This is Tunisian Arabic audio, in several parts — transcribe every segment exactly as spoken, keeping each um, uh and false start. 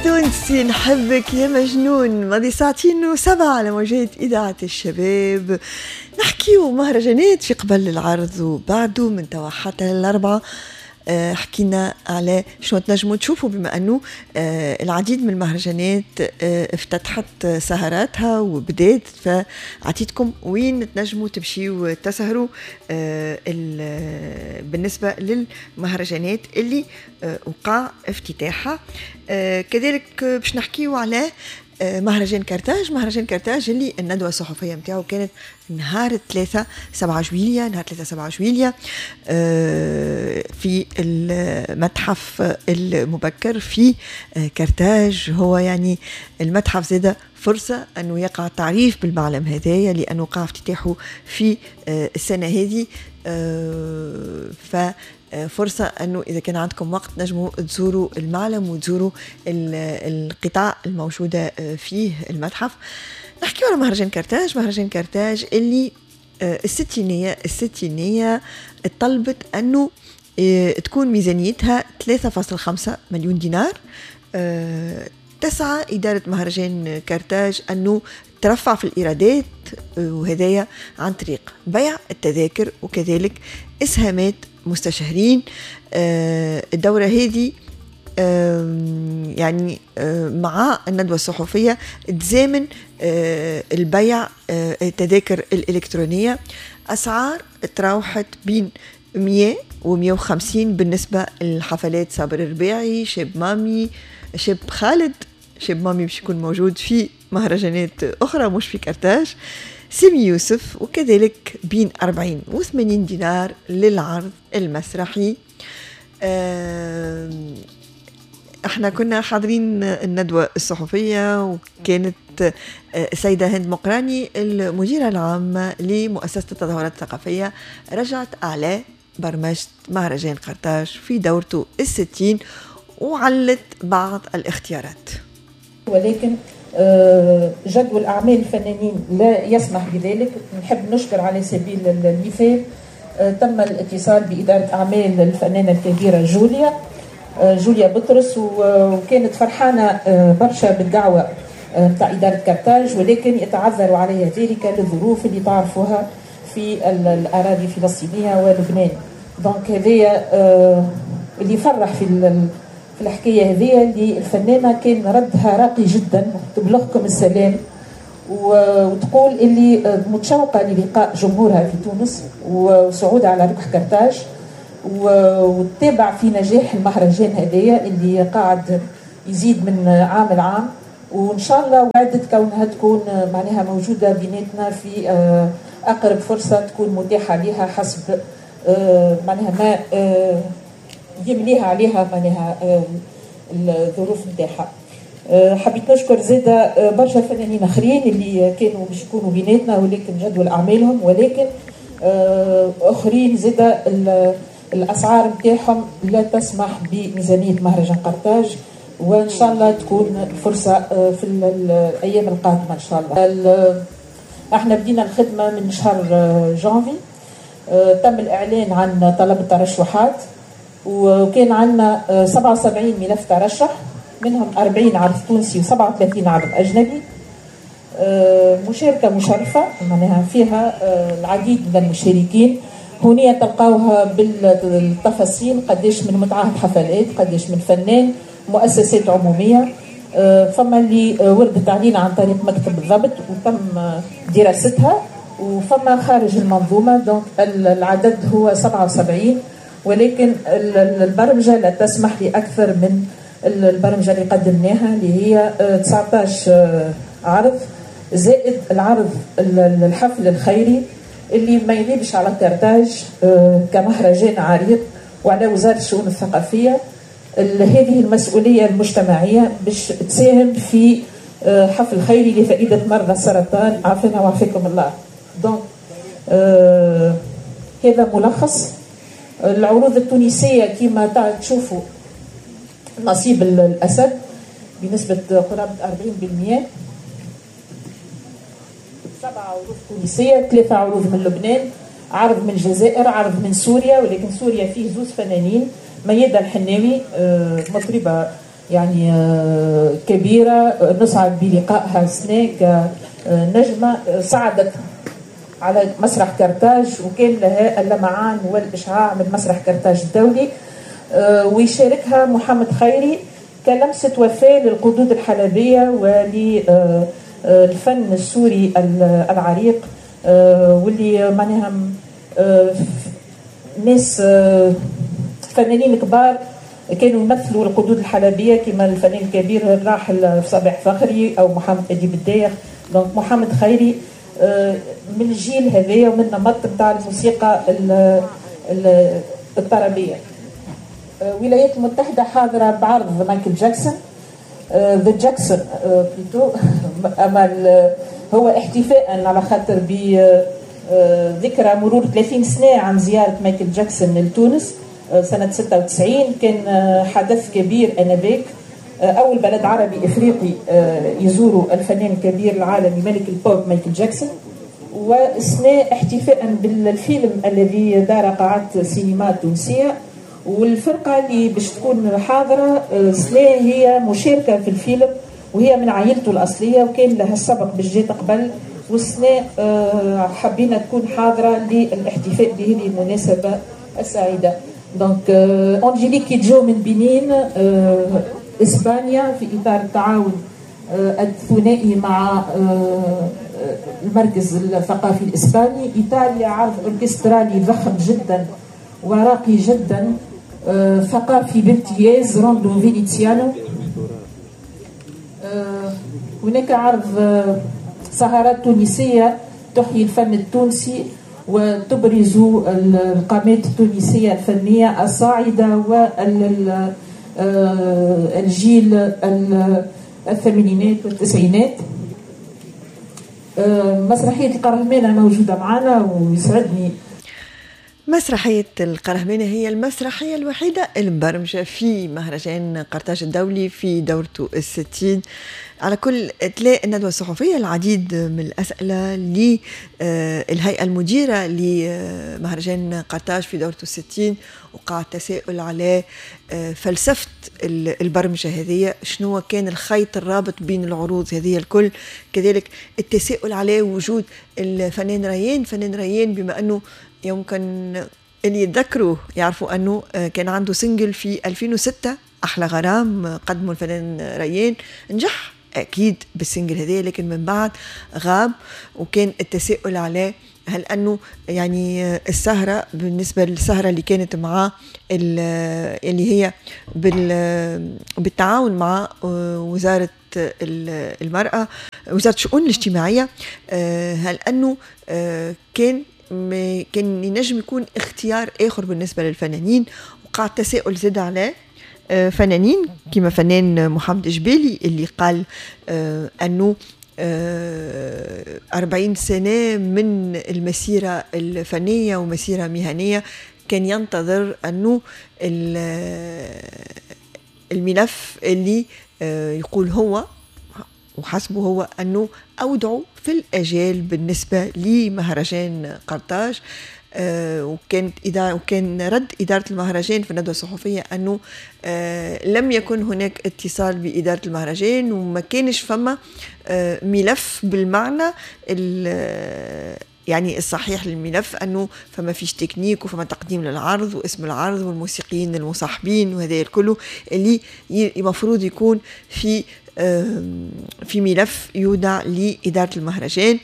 تونسي نحبك يا مجنون. ماضي ساعتين وسبعة على موجات إذاعة الشباب. نحكيو مهرجانات في قبل العرض وبعده من توا حتى الأربعة. حكينا على شنو تنجموا تشوفوا بما أنه العديد من المهرجانات افتتحت سهراتها وبدات، فعطيتكم وين تنجموا تمشيوا تسهروا بالنسبة للمهرجانات اللي وقع افتتاحها. كذلك باش نحكيو على مهرجان كرتاج، مهرجان كرتاج اللي الندوة الصحفية متاعو كانت نهار ثلاثة سبعة جويلية، نهار ثلاثة سبعة جويلية في المتحف المبكر في كرتاج. هو يعني المتحف زاد فرصة أنه يقع التعريف بالمعلم هذايا لأنه وقع افتتاحه في السنة هذه، ف فرصة أنه إذا كان عندكم وقت نجموا تزوروا المعلم وتزوروا القطاع الموجودة فيه المتحف. نحكي على مهرجان كرتاج، مهرجان كرتاج اللي الستينية الستينية طلبت أنه تكون ميزانيتها ثلاثة فاصلة خمسة مليون دينار. تسعى إدارة مهرجان كرتاج أنه ترفع في الإيرادات، وهذايا عن طريق بيع التذاكر وكذلك إسهامات مستشهرين. الدورة هذه يعني مع الندوة الصحفية تزامن البيع التذاكر الإلكترونية. أسعار تراوحت بين مية ومية وخمسين بالنسبة للحفلات صابر الرباعي، شاب مامي، شاب خالد. شاب مامي باش يكون موجود في مهرجانات أخرى مش في كرتاج، سيمي يوسف، وكذلك بين أربعين وثمانين دينار للعرض المسرحي. احنا كنا حاضرين الندوة الصحفية وكانت السيدة هند مقراني المديرة العامة لمؤسسة التظاهرات الثقافية رجعت على برمجة مهرجان قرطاج في دورته الستين وعلت بعض الاختيارات، ولكن جدول أعمال الفنانين لا يسمح بذلك. نحب نشكر على سبيل المثال تم الاتصال بإدارة أعمال الفنانة الكبيرة جوليا جوليا بطرس، وكانت فرحانة برشا بالدعوة نتاع إدارة كرتاج، ولكن يتعذر عليها ذلك للظروف اللي تعرفوها في الأراضي الفلسطينية ولبنان. donc هذايا اللي فرح في في الحكاية هذه اللي الفنانة كان ردها راقي جدا، تبلغكم السلام وتقول اللي متشوقة للقاء جمهورها في تونس وصعودها على ركح كرتاج، وتتابع في نجاح المهرجان هذايا اللي قاعد يزيد من عام لعام، وان شاء الله وعدت كونها تكون معناها موجودة بيناتنا في اقرب فرصة تكون متاحة لها حسب معناها ما يمليها عليها معناها الظروف نتاعها. حبيت نشكر زاده برشا فنانين اخرين اللي كانوا باش يكونوا بيناتنا ولكن جدول اعمالهم، ولكن اخرين زاده الاسعار نتاعهم لا تسمح بميزانيه مهرجان قرطاج، وان شاء الله تكون الفرصة في الايام القادمة ان شاء الله. احنا بدينا الخدمة من شهر جانفي، تم الاعلان عن طلب الترشحات وكان عندنا سبعة وسبعين ملف ترشح، منهم أربعين عرض تونسي وسبعة وثلاثين عرض أجنبي. مشاركة مشرفة معناها فيها العديد من المشاركين. هنا تلقاوها بالتفاصيل قداش من متعهد حفلات، قداش من فنان، مؤسسات عمومية. فما اللي وردت علينا عن طريق مكتب الضبط وتم دراستها، وفما خارج المنظومة. donc العدد هو سبعة وسبعين، ولكن البرمجة لا تسمح لأكثر من البرمجة اللي قدمناها اللي هي تسعطاش عرض زائد العرض الحفل الخيري اللي ما يغيبش على كرتاج كمهرجان عريق وعلى وزارة الشؤون الثقافية هذه المسؤولية المجتمعية باش تساهم في حفل خيري لفائدة مرضى السرطان، عافانا وعافاكم الله. donc هذا ملخص العروض التونسية. كما تشوفوا نصيب الأسد بنسبة قرابة أربعين بالمئة، سبعة عروض تونسية، ثلاثة عروض من لبنان، عرض من الجزائر، عرض من سوريا، ولكن سوريا فيه زوز فنانين، ميادة الحناوي مطربة يعني كبيرة، نسعد بلقائها السنة كنجمة صعدت على مسرح كرتاج وكان لها اللمعان والإشعاع من مسرح كرتاج الدولي. ويشاركها محمد خيري كلمسة وفاء للقدود الحلبية وللفن السوري العريق، واللي معناها ناس فنانين كبار كانوا يمثلوا القدود الحلبية كما الفنان الكبير الراحل صباح فخري أو محمد أديب الدايخ. donc محمد خيري من الجيل هذايا ومن النمط نتاع الموسيقى الطربية. الولايات المتحدة حاضرة بعرض مايكل جاكسون، The Jackson plutôt، أما هو احتفاء على خاطر بذكرى مرور ثلاثين سنة عن زيارة مايكل جاكسون لتونس سنة ستة وتسعين. كان حدث كبير آنذاك، أول بلد عربي إفريقي يزور الفنان الكبير العالمي ملك البوب مايكل جاكسون. والسنة احتفاء بالفيلم الذي دار قاعات سينما التونسية، والفرقة اللي باش تكون حاضرة سنة هي مشاركة في الفيلم وهي من عائلته الأصلية وكان لها السبق باش جات قبل، والسنة حبينا تكون حاضرة للاحتفاء بهذه المناسبة السعيدة. donc أنجيليك كيدجو من بنين إسبانيا في إطار التعاون الثنائي مع المركز الثقافي الإسباني. إيطاليا عرض أوركسترالي ضخم جدا وراقي جدا ثقافي بامتياز، Rondo Veneziano. هناك عرض سهرات تونسية تحيي الفن التونسي وتبرز القامات التونسية الفنية الصاعدة والجيل الثمانينات والتسعينات. مسرحية القرهمانة موجودة معنا ويسعدني. مسرحية القرهمانة هي المسرحية الوحيدة المبرمجة في مهرجان قرطاج الدولي في دورته الستين. على كل تلاقي الندوة الصحفية العديد من الأسئلة للهيئة المديرة لمهرجان قرطاج في دورته الستين، وقع التساؤل على فلسفة البرمجة هذه، شنو كان الخيط الرابط بين العروض هذه الكل. كذلك التساؤل على وجود الفنان ريان، فنان ريان بما أنه يمكن اللي يتذكروا يعرفوا أنه كان عنده single في ألفين وستة أحلى غرام قدمه الفنان ريان، نجح أكيد بال single هذا، لكن من بعد غاب، وكان التساؤل على هل أنه يعني السهرة بالنسبة للسهرة اللي كانت مع اللي هي بالتعاون مع وزارة المرأة، وزارة الشؤون الاجتماعية، هل أنه كان كان ينجم يكون اختيار آخر بالنسبة للفنانين. وقع التساؤل زاد على فنانين كما فنان محمد جبالي اللي قال أنه أربعين سنة من المسيرة الفنية ومسيرة مهنية كان ينتظر أنه الملف اللي يقول هو وحسبه هو أنه أودعوا في الأجال بالنسبة لمهرجان قرطاج. آه وكانت إدارة وكان رد إدارة المهرجان في الندوة الصحفية أنه آه لم يكن هناك اتصال بإدارة المهرجان وما كانش فما آه ملف بالمعنى يعني الصحيح للملف، أنه فما فيش تكنيك وفما تقديم للعرض واسم العرض والموسيقيين المصاحبين وهذا الكل اللي المفروض يكون في في ملف يودع لإدارة المهرجان.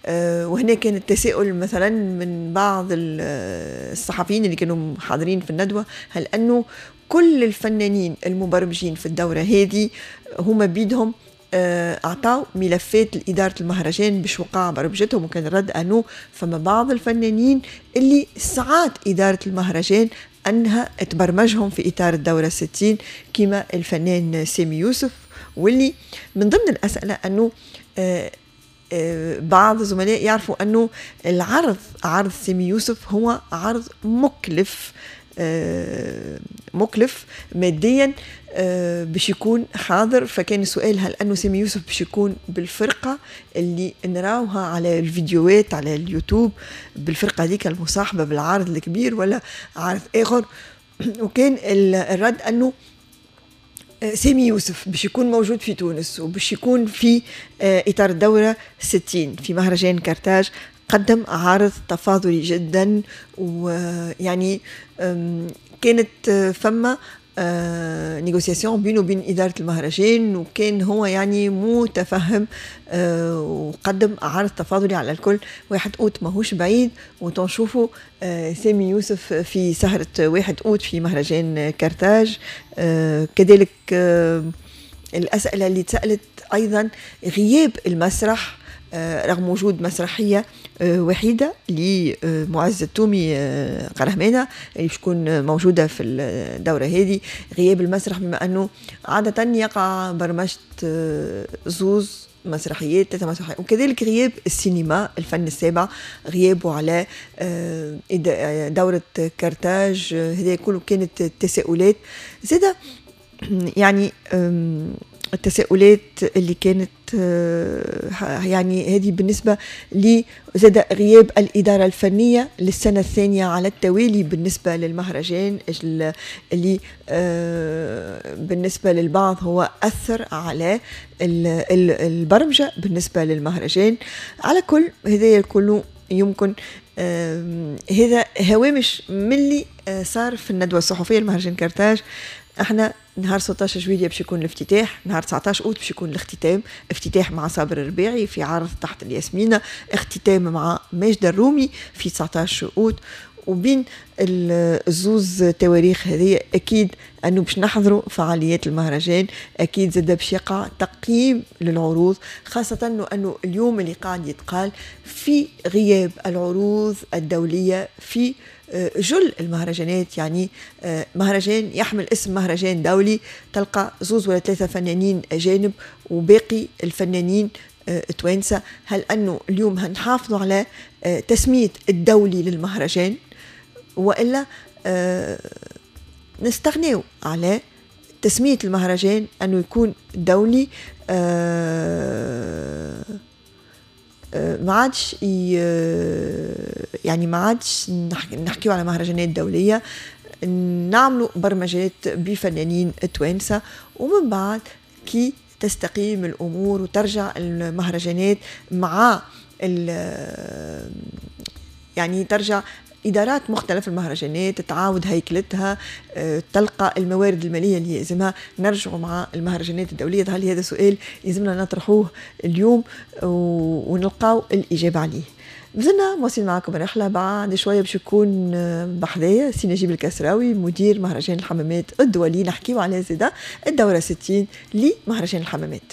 وهنا كان التساؤل مثلا من بعض الصحفيين اللي كانوا حاضرين في الندوة، هل أنه كل الفنانين المبرمجين في الدورة هذه هما بيدهم أعطوا ملفات لإدارة المهرجان باش وقع برمجتهم؟ وكان الرد أنه فما بعض الفنانين اللي ساعات إدارة المهرجان أنها تبرمجهم في إطار الدورة الستين كما الفنان سامي يوسف. واللي من ضمن الأسئلة أنه بعض الزملاء يعرفوا أنه العرض عرض سامي يوسف هو عرض مكلف مكلف ماديا باش يكون حاضر، فكان السؤال هل أنه سامي يوسف باش يكون بالفرقة اللي نراوها على الفيديوهات على اليوتيوب بالفرقة ديك المصاحبة بالعرض الكبير ولا عرض آخر؟ وكان الرد أنه سامي يوسف باش يكون موجود في تونس وباش يكون في إطار الدورة ستين في مهرجان كارتاج، قدم عرض تفاضلي جدا، ويعني كانت فما négociation بينه وبين إدارة المهرجان، وكان هو يعني متفهم وقدم عرض تفاضلي على الكل. واحد أوت ماهوش بعيد، وتنشوفوا سامي يوسف في سهرة واحد أوت في مهرجان كارتاج. كذلك الأسئلة اللي تسألت أيضا غياب المسرح رغم وجود مسرحية وحيدة لمعز التومي قرهمانة اللي باش تكون موجودة في الدورة هذه، غياب المسرح بما أنه عادة يقع برمجة زوز مسرحيات ثلاثة مسرحيات، وكذلك غياب السينما الفن السابع غيابه على دورة كارتاج. هذا كله كانت تساؤلات زادة، يعني التساؤلات اللي كانت يعني هذه بالنسبة لزاد غياب الإدارة الفنية للسنة الثانية على التوالي بالنسبة للمهرجان اللي بالنسبة للبعض هو أثر على البرمجة بالنسبة للمهرجان. على كل هذا كله يمكن هذا هوامش من اللي صار في الندوة الصحفية لمهرجان كارتاج. احنا نهار ستة عشر جويلية باش يكون الافتتاح، نهار تسعة عشر اوت باش يكون الاختتام، افتتاح مع صابر الرباعي في عرض تحت الياسمينة، اختتام مع ماجد الرومي في تسعة عشر اوت. وبين الزوز تواريخ هذه اكيد انه باش نحضروا فعاليات المهرجان، اكيد زاد باش يقع تقييم للعروض، خاصة انه اليوم اللي قاعد يتقال في غياب العروض الدولية في جل المهرجانات. يعني مهرجان يحمل اسم مهرجان دولي تلقى زوز ولا ثلاثة فنانين أجانب وباقي الفنانين توانسة. هل أنه اليوم هنحافظوا على تسمية الدولي للمهرجان وإلا نستغنيو على تسمية المهرجان أنه يكون دولي؟ ما عادش يعني ما عادش نحكيو على مهرجانات دولية، نعملوا برمجات بفنانين توانسة، ومن بعد كي تستقيم الأمور وترجع المهرجانات مع يعني ترجع إدارات مختلف المهرجانات تعاود هيكلتها، تلقى الموارد المالية اللي يلزمها، نرجعوا مع المهرجانات الدولية. هل هذا سؤال يلزمنا نطرحوه اليوم ونلقاو الإجابة عليه. مازلنا مواصلين معكم الرحلة، بعد شوية باش يكون بحذايا سي نجيب الكسراوي مدير مهرجان الحمامات الدولي، نحكيو على زاده الدورة ستين لمهرجان الحمامات.